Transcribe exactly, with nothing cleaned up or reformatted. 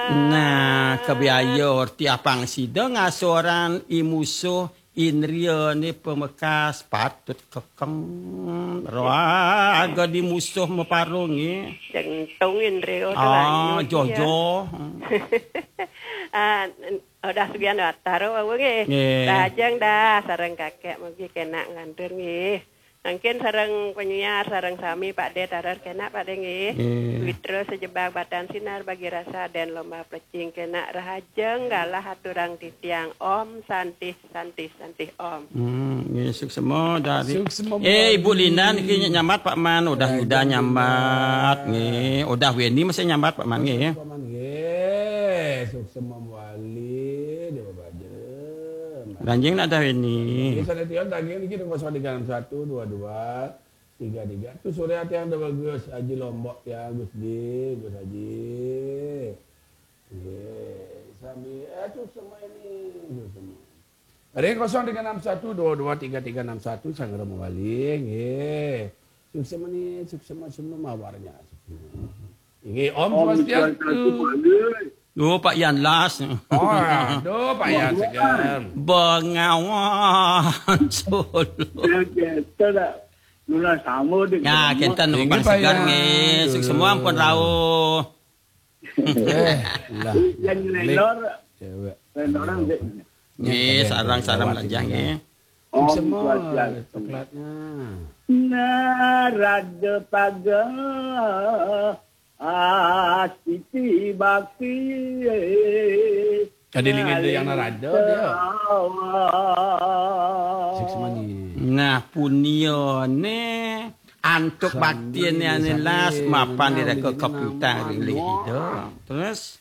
Nah, kebiaya orti apang sida ngasoran i musuh indriane pamekas patut kekeng. Raga di musuh maparunge. Jengtung indria. Ah, jojo. Ah, udah sugihan watara wau nggih. Nggih. Lajeng dah sareng kakek mugi kenak nglantur nggih. Mangkin sareng penyiar, sareng sami Pak De tarar kenak Pak De nggih. Nggih. Witra sejebag batan sinar bagi rasa dan lomba plecing kenak rahajeng galah aturang titiang. Om Santih, Santih, Santih Om. Hmm, nggih, suksema dari. Suksema. Eh, Ibu Linda niki nyambat Pak Man, udah Yuda nyambat nggih. Udah Weni masih nyambat Pak Man nggih. Pak Man nggih, suksema wali, Dewa Baja. Ranjing nak dah Weni. Nggih, sané tiang tagih niki kosong tiga enam satu dua dua tiga tiga. Tu sore ati yang ada bagus Haji Lombok ya, Gus Di, Gus Haji. Nggih, sami eh tu semua ini, tu semua. Ring kosong tiga enam satu dua dua tiga tiga enam satu Sanggra Mawali nggih. Suksema ni, suksema semua mawarnya. Nggih, Om Om Swastiastu. Swastiastu, Pak Yus. Duh, Pak Yan las. Oh, aduh, Pak Yan segan. Bengawan Solo. Ya, kita dah. Nuna sama dengan Ya, kita nunggu Pak Segar nggih. Suksema ampun rauh. Eh, lah. Yang Lek. Lenor, Cewek. Lenor orang dia. Nggih, sareng-sareng lajah nggih. Om Swastiastu. Coklatnya. Narada paga astiti bakti. Ada lingin dia yang narada dia. Suksema ni. Nah, punyane antuk baktiane ane las mapan direka keputang ring lih ida. Terus